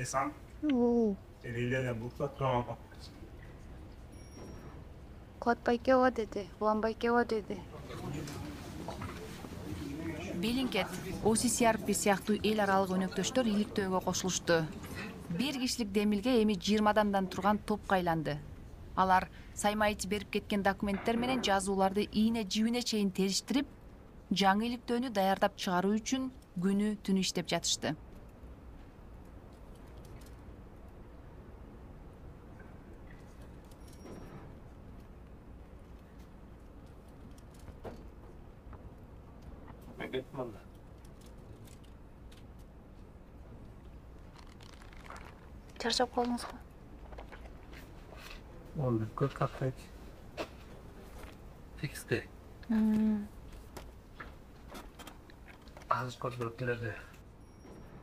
Esan, Oo. eliyle de bulsa tutamam. Kotpay kewa dedi. Уланбай kewa dedi. Белинкет, OCCRP сыяктуу эл аралык өнөктөштөр иликтөөгө кошулушту. 1 кишилик демилге эми 20 адамдан турган топко айланды. Алар Саймаич берип кеткен документтер менен жазууларды ийне жибине чейин териштирип, жаңы иликтөөнү даярдап чыгаруу үчүн күнү түнү иштеп жатышты. Чарчап калдыңыз го? Onu көп каттайт. Тексте. Азыр көрүп келерди.